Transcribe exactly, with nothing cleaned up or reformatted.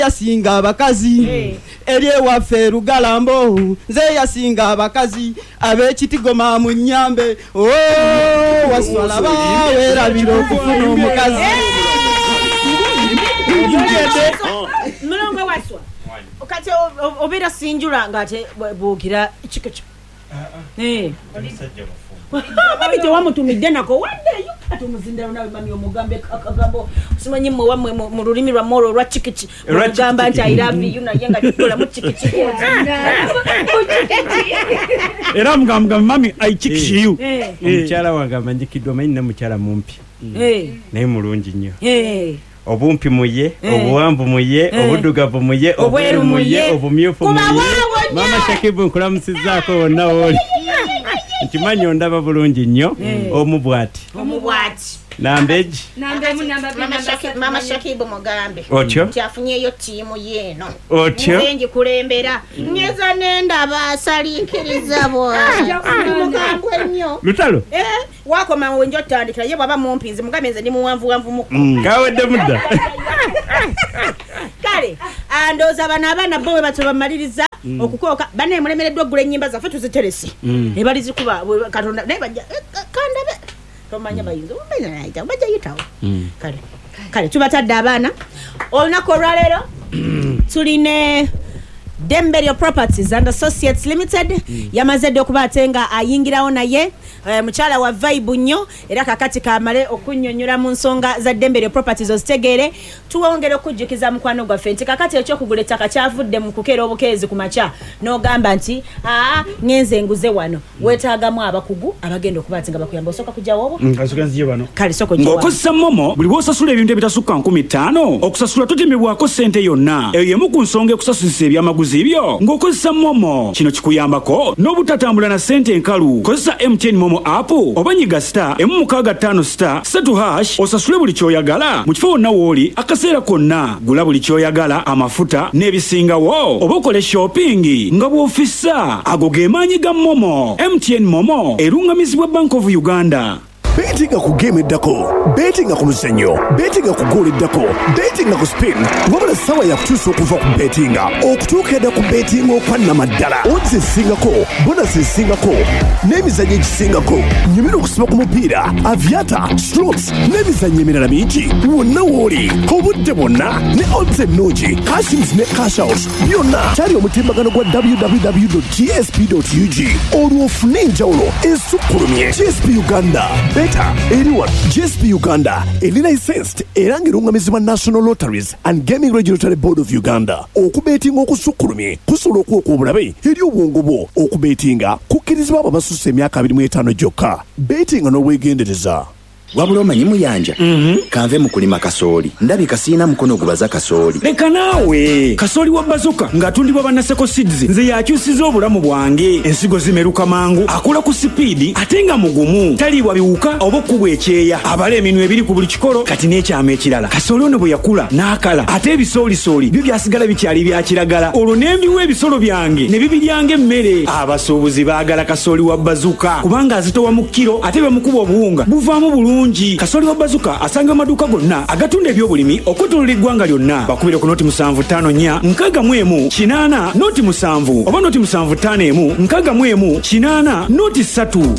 Yasinga abakazi eri ewaffe Lugalambo, nze yasinga abakazi ab'ekitigoma mu nnyambe. Oh, waswala bawerabira okufuna omukazi. Mulongo Waswa, kati obeera sinjula ng'ate bw'ogira kikiki. Eh. Mami tewamutumidde nako waddeyo ate omuzindalo nawe mami omugambe akagambo simanyi mmwe wammwe mu lulimi lwammwe olwo olwa kikiki mugamba nti I love you naye nga kikolamu kikiki. Era mugamba mami I chikiki you. Omukyala wange amanyikiddwa manyi ne mukyala mumpi naye mulungi nnyo. Obumpi muye, obuwanvu muye, obuddugavu muye, obweru muye, obumyufu muye. Mama Shakibu nkulamusizzaako wonna w'oli. Nkimanyi ondaba bulungi nnyo, omu bw'ati. Omu bw'ati. Nambeji. Mama Shakibu mugambe. Otyo? Nti afunyeyo ttiimu ye eno. Otyo? Nze ngikulembera. Ngeza nendaba asalinkiriza bw'ati. Ndi mukambwe nnyo. Lutalo? Eh, wakoma we nja otandikira ye bw'aba mumpi nze mugambe nze ndi muwanvuwanvu mukko. Kawedde mudda. Kale, ndowooza bano abaana bo bwe batyo bamaliriza okukooka banne mulemereddwa oggula ennyimba zaffe tuziterese. Ne balizikuba Katonda naye bajja kandabe. Tomanya bayinza bajja bajja yitawo. Kale kale tubatadde abaana. Olunaku olwaleero tuline Demberio Properties and Associates Limited yamaze dde okuba ate nga ayingirawo naye mukyala wa vibe nnyo era kakati kamale okunnyonnyola mu nsonga za Demberio Properties ozitegeere. Tuwongere okujjukiza mukwano gwaffe nti kakati ekyokugula ettaka kyavudde mu kukeera obukeezi ku makya n'ogamba nti aa ngenze nguze wano, weetaagamu abakugu abagenda okuba ate nga bakuyamba. Osooka kujjawo obwo? Kasooka nzije wano. Kale sooka ojje wano. Ng'okozesa MoMo buli bw'osasula ebintu ebitasukka nkumi ttaano okusasula totemebwako ssente yonna. Eyo y'emu ku nsonga ekusasulisa ebyamaguzi byo ng'okozesa MoMo. Kino kikuyambako n'obutatambula na ssente enkalu. Kozesa M T N MoMo app oba nyiga star emu mukaaga ttaano star ssatu hash osasule buli ky'oyagala mu kifo wonna w'oli akaseera konna. Gula buli ky'oyagala, amafuta n'ebisingawo oba okole shopping nga bw'ofissa. Ago ge maanyi ga MoMo. M T N MoMo erungamizibwa Bank of Uganda. Betinga ku game eddako, betinga ku muzannyo, betinga ku goal eddako, betinga ku spin. Wabula ssaawa yakutuusa okuva ku betinga okutuuka edda ku betinga okwannamaddala. Odds esingako, bonus esingako, n'emizannyo egisingako. Nyumira okusiba ku mupiira, aviata, slots n'emizannyo emirala mingi. Wonna w'oli, obudde bwonna ne odds ennungi, cashins ne cash out byonna. Kyali omutimbagano gwa w w w dot g s p dot u g olwo ofune enjawulo esukkulumye. G S P Uganda. Eri G S P Uganda eri licensed era ng'erungamizibwa National Lotteries and Gaming Regulatory Board of Uganda. Okubeetinga okusukkulumye kusobola okuwa obulabe eri obwongo bwo. Okubeetinga kukkirizibwa abo abasussa emyaka abiri mu etaano gyokka. Beetinga n'obwegendereza. Wabula omanyi Muyanja, kanve mu kulima kasooli. Ndabika sirina mukono gubaza kasooli. Leka naawe. Kasooli wa Bazoka ng'atundibwa Bannaseko Seeds nze yakyusiza obulamu bwange. Ensigo zimeruka mangu, akula ku sipiidi ate nga mugumu. Taliibwa biwuka oba okukubwa ekyeya. Abala eminwe ebiri ku buli kikolo kati n'ekyama ekirala. Kasooli ono bwe yakula n'akala ate ebisoolisooli byo byasigala bikyali bya kiragala. Olwo ne mbiwa ebisolo byange ne bibiryanga emmere. Abasuubuzi baagala kasooli wa Bazoka kubanga azitowa mu kiro ate bamukuba obuwunga buvaamu bulungi. Kasooli wa Bazoka asanga amaduuka gonna agatunda ebyobulimi okwetooloola eggwanga lyonna. Bakubire ku noti musanvu ttaano nnya nkaaga mu emu kinaana noti musanvu oba noti musanvu ttaano emu nkaaga mu emu kinaana noti ssatu.